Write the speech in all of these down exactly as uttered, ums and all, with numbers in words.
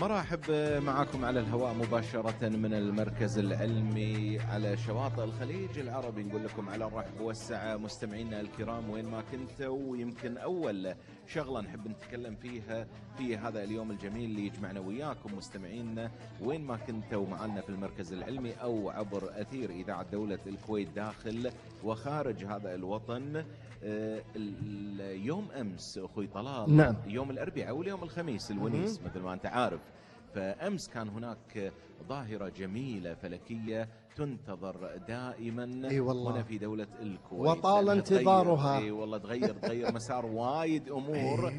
مرحب معكم على الهواء مباشرة من المركز العلمي على شواطئ الخليج العربي. نقول لكم على الرحب والسعة مستمعينا الكرام وين ما كنتوا. ويمكن أول شغلة نحب نتكلم فيها في هذا اليوم الجميل اللي يجمعنا وياكم مستمعينا وين ما كنتوا معنا في المركز العلمي أو عبر أثير إذاعة دولة الكويت داخل وخارج هذا الوطن. اليوم أمس أخوي طلال، نعم. يوم الأربعاء واليوم الخميس الونيس مثل ما أنت عارف. فأمس كان هناك ظاهرة جميلة فلكية تنتظر دائما أي والله. هنا في دولة الكويت، وطال انتظارها. اي والله تغير تغير مسار وايد امور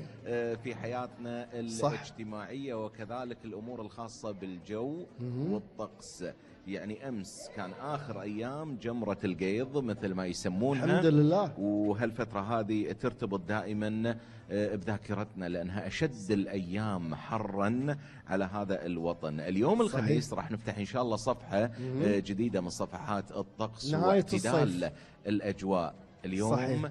في حياتنا الاجتماعية وكذلك الامور الخاصة بالجو والطقس. يعني امس كان اخر ايام جمرة القيض مثل ما يسمونها، الحمد لله. وهالفترة هذه ترتبط دائما بذاكرتنا لانها اشد الايام حرا على هذا الوطن. اليوم الخميس راح نفتح ان شاء الله صفحة جديدة من صفحات الطقس واعتدال الاجواء. اليوم صحيح.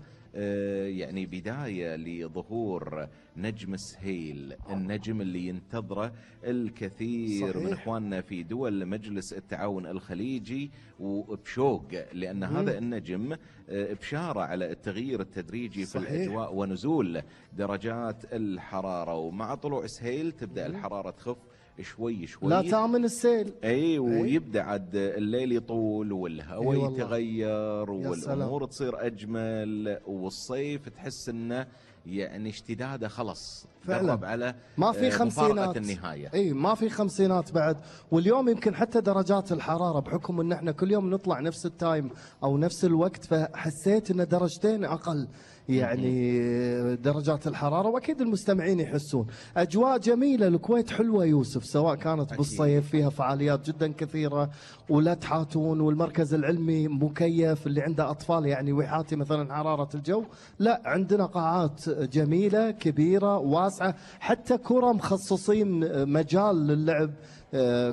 يعني بداية لظهور نجم سهيل، النجم اللي ينتظره الكثير صحيح. من اخواننا في دول مجلس التعاون الخليجي وبشوق، لان مم. هذا النجم بشارة على التغيير التدريجي صحيح. في الاجواء ونزول درجات الحرارة، ومع طلوع سهيل تبدأ مم. الحرارة تخف شوي شوي، لا تامن السيل. اي ويبدا عاد الليل يطول والهواء أي يتغير والامور تصير اجمل، والصيف تحس انه يعني اشتداده خلص قرب على ما في خمسينات النهايه. اي ما في خمسينات بعد. واليوم يمكن حتى درجات الحراره بحكم ان احنا كل يوم نطلع نفس التايم او نفس الوقت، فحسيت ان درجتين اقل يعني درجات الحرارة. وأكيد المستمعين يحسون أجواء جميلة. الكويت حلوة يوسف، سواء كانت بالصيف فيها فعاليات جدا كثيرة ولا تحاتون، والمركز العلمي مكيف اللي عنده أطفال يعني ويحاتي مثلا حرارة الجو. لا، عندنا قاعات جميلة كبيرة واسعة، حتى كرة مخصصين مجال للعب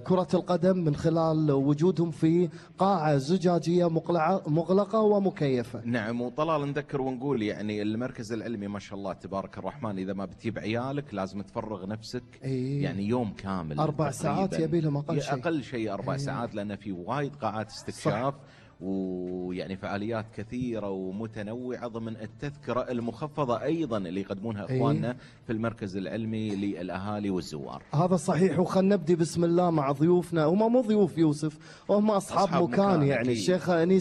كرة القدم من خلال وجودهم في قاعة زجاجية مغلقة ومكيفة. نعم. وطلال نذكر ونقول يعني المركز العلمي ما شاء الله تبارك الرحمن إذا ما بتجيب عيالك لازم تفرغ نفسك إيه. يعني يوم كامل أربع ساعات يبي لهم أقل شيء أقل شيء أربع إيه. ساعات، لأن في وايد قاعات استكشاف صح. ويعني فعاليات كثيرة ومتنوعة ضمن التذكرة المخفضة أيضا اللي يقدمونها أخواننا أيه؟ في المركز العلمي للأهالي والزوار. هذا صحيح. وخلنا نبدي بسم الله مع ضيوفنا. هم مو ضيوف يوسف، هم أصحاب, أصحاب مكان, مكان يعني أكيد. الشيخ أنيس